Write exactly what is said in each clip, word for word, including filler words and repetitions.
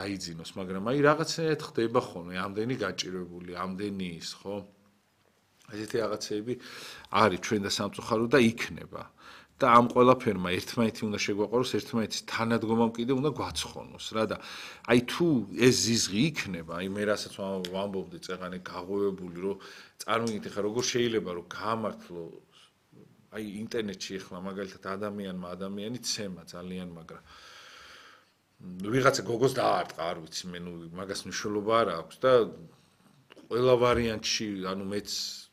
დაიძინოს, მაგრამ აი რაღაცნაირად ხდება ხოლმე, ამდენი გაჭირვებული, ამდენი ის, ხო? ესეთი რაღაცეები არის ჩვენ და სამწუხარო და იქნება. და ამ ყველაფერმა ერთმანეთი უნდა შეგვაყაროს, ერთმანეთის თანადგომამ კიდე უნდა გვაცხონოს რა და აი თუ ეს ზიზღი იქნება, აი მე რასაც ვამბობდი წეღანე გაღვევებული, რომ წარმოგიდგენთ ხა როგორ შეიძლება რომ გაამართლო აი ინტერნეტში ახლა მაგალითად ადამიანმა ადამიანი ცემა ძალიან მაგრამ ვიღაცა გოგოს დაარტყა, არ ვიცი, მე ნუ მაგას მნიშვნელობა არ აქვს და ყველა ვარიანტში, ანუ მეც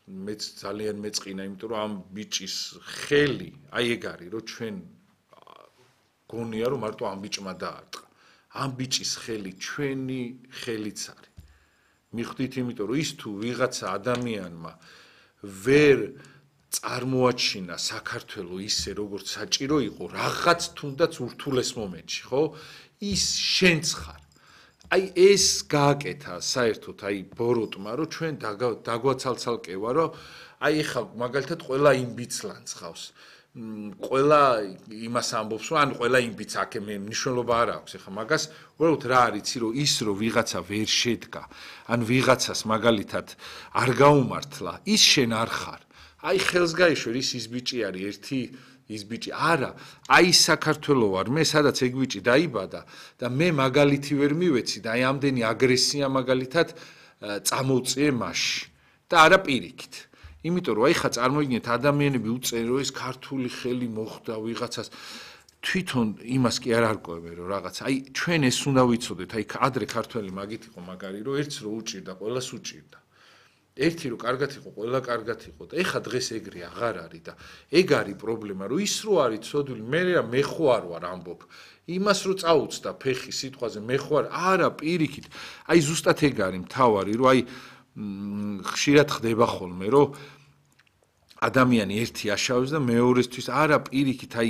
მეც ძალიან მეწყინა, იმიტომ რომ ამ ბიჭის ხელი, აი ეგ არის, რომ ჩვენ გონია რომ მარტო ამ ბიჭმა დაარტყა. ამ ბიჭის ხელი ჩვენი ხელიც არის. მიხვდით, იმიტომ რომ ის თუ ვიღაცა ადამიანმა ვერ წარმოაჩინა საქართველოს ისე როგორც საჭირო იყო, რაღაც თუნდაც ურთულეს მომენტში, ხო? ის შენც ხარ. აი ეს გააკეთა საერთოდ აი ბოროტმა რომ ჩვენ დაგვაცალცალკევა რომ აი ხა მაგალითად ყველა იმ ბიჭს ლანცხავს ყველა იმას ამბობს რომ ან ყველა იმ ბიჭს აქ მე მნიშვნელობა არ აქვს ხა მაგას უბრალოდ რა არიცი რომ ის რომ ვიღაცა ვერ შედგა ან ვიღაცას მაგალითად არ გაუმართლა ის შენ არ ხარ აი ხელს გაიშვერ ის ის ბიჭი არის ერთი ის ბიჭი არა აი საქართველოს ვარ მე სადაც ეგ ბიჭი დაიბადა და მე მაგალითი ვერ მივეცი და აი ამდენი აგრესია მაგალითად წამოვწიე მასში და არა პირიქით იმიტომ რომ აი ხა წარმოიდგინეთ ადამიანები უწენ რომ ეს ქართული ხელი მოხდა ვიღაცას თვითონ იმას კი არ არკვევენ რომ რაღაც აი ჩვენ ეს უნდა ვიცოდეთ აი ადრე ქართველი მაგით იყო მაგარი რომ ერთს რო უჭირდა ყველას უჭირდა ერთი რო კარგად იყო, ყველა კარგად იყო და ეხა დღეს ეგრე აღარ არის და ეგ არის პრობლემა, რომ ის რო არის ცოდვილი, მე რა მე ხო არ ვარ ამბობ. იმას რო წაუწდა ფეხი სიტყვაზე მე ხო არ, არა პირიქით. აი ზუსტად ეგ არის მთავარი, რომ აი ხშირად ხდება ხოლმე, რომ ადამიანი ერთი აშავებს და მეორესთვის არა პირიქით, აი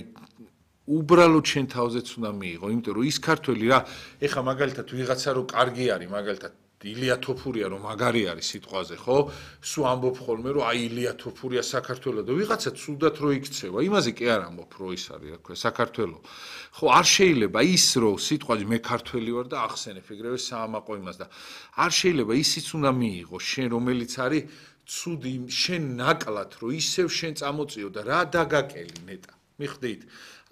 უბრალოდ შენ თავზეც უნდა მიიღო, იმიტომ რომ ის ქართველი რა, ეხა მაგალითად ვიღაცა რო კარგი არის, მაგალითად ილია თოფურია რომ მაგარი არის სიტყვაზე, ხო? სულ ამბობ ხოლმე რომ აი ილია თოფურია საქართველოს და ვიღაცა ცუდად რო იქცევა, იმაზე კი არ ამბობ რო ის არის, რა ქვია, საქართველოს. ხო, არ შეიძლება ის რო სიტყვაზე მე ქართველი ვარ და ახსენებ ეგრევე საამაყო იმას და არ შეიძლება ისიც უნდა მიიღო შენ რომელიც არის ცუდი შენ ნაკლად რო ისევ შენ წამოწიო და რა დაგაკელი ნეტა. მიხვდით?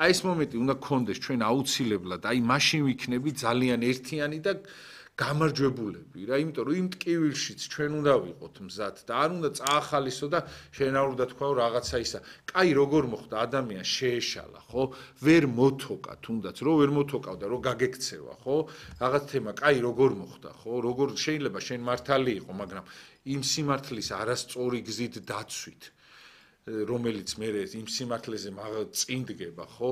აი ეს მომენტი უნდა გქონდეს ჩვენ აუცილებლად, აი მაშინ ვიქნები ძალიან ერთიანი და გამარჯვებულები რა, იმიტომ რომ იმ ტკივილშიც ჩვენ უნდა ვიყოთ მზად და არ უნდა წაახალისო და შენ არ უნდა თქვა რაღაცა ისა. კაი როგორ მოხდა ადამიანს შეეშალა, ხო? ვერ მოთოკა თუნდაც, რო ვერ მოთოკავდა, რო გაგექცევა, ხო? რაღაც თემა, კაი როგორ მოხდა, ხო? როგორ შეიძლება შენ მართალი იყო, მაგრამ იმ სიმართლის არასწორი გზით დაცვით, რომელიც მე იმ სიმართლეზე წინდგება, ხო?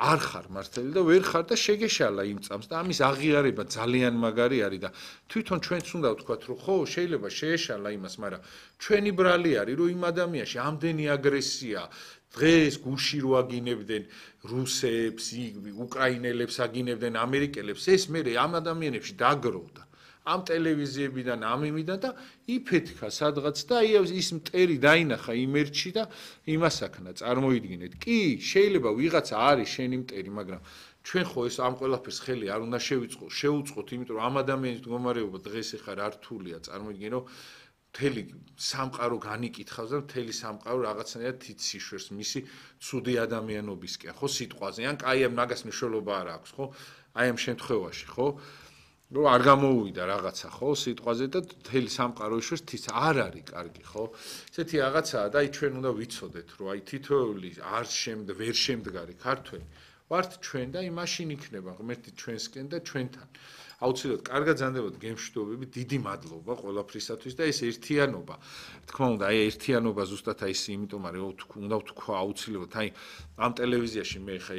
არ ხარ მართალი და ვერ ხარ და შეგეშალა იმ წამს და ამის აღიარება ძალიან მაგარი არის და თვითონ ჩვენც უნდა ვთქვათ რომ ხო შეიძლება შეეშალა იმას, მაგრამ ჩვენი ბრალი არის რომ იმ ადამიანში ამდენი აგრესია დღეს გუში რო აგინებდნენ რუსებს, უკრაინელებს აგინებდნენ ამერიკელებს ეს მე ამ ადამიანებში დაგროვდა ამ ტელევიზიებიდან ამ იმიდან და იფეთქა სადღაც და აი ის მტერი დაინახა იმერჩი და იმასაკნა წარმოიდგინეთ. კი, შეიძლება ვიღაცა არის შენი მტერი, მაგრამ ჩვენ ხო ეს ამ ყველაფერს ხელი არ უნდა შევიწყო, შეუწყოთ, იმიტომ რომ ამ ადამიანის მდგომარეობა დღეს ახლა რთულია, წარმოიდგინე რომ მთელი სამყარო განიკითხავს და მთელი სამყარო რაღაცნაირად თიციშვერს მისი ცუდი ადამიანობისკენ, ხო სიტყვაზე, ან კაი ამ მაგას მნიშვნელობა არ აქვს, ხო? აი ამ შემთხვევაში, ხო? რომ არ გამოუვიდა რაღაცა ხო სიტყვაზე და მთელი სამყარო იშვერს თის არ არის კარგი ხო ესეთი რაღაცაა და აი ჩვენ უნდა ვიცოდეთ რომ აი თითოეული არ შემდგ ვერ შემდგარი ქართველი ვართ ჩვენ და აი მაშინ იქნება ღმერთი ჩვენსკენ და ჩვენთან აუცილებლად კარგად ზანდებოდ გემშვიდობები დიდი მადლობა ყველაფრისათვის და ეს ერთიანობა თქმა უნდა აი ერთიანობა ზუსტად აი ეს იმიტომ არის უნდა ვთქვა აუცილებლად აი ამ ტელევიზიაში მე ხა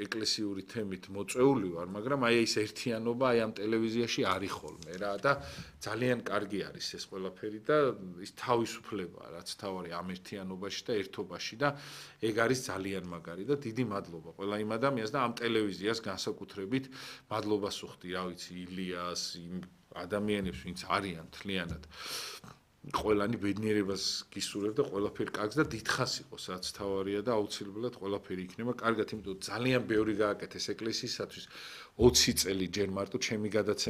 ეკლესიური თემით მოწეული ვარ მაგრამ აი ეს ერთიანობა აი ამ ტელევიზიაში არის ხოლმე რა და ძალიან კარგი არის ეს ყველაფერი და ის თავისუფლებაა რაც თავარი ამ ერთიანობაში და ერთობაში და ეგ არის ძალიან მაგარი და დიდი მადლობა ყველა იმ ადამიანს და ამ ტელევიზიას განსაკუთრებით მადლობას ვუხდი რა ვიცი ილიას იმ ადამიანებს ვინც არიან თლიანად ყველანი ბედნიერებას გისურვებ და ყველაფერი კარგს და დიდხანს იყოს რაც თავარია და აუცილებლად ყველაფერი იქნება კარგად, იმიტომ ძალიან ბევრი გააკეთეს ეკლესიისათვის ოცი წელი ჯერ მარტო ჩემი გადაცემით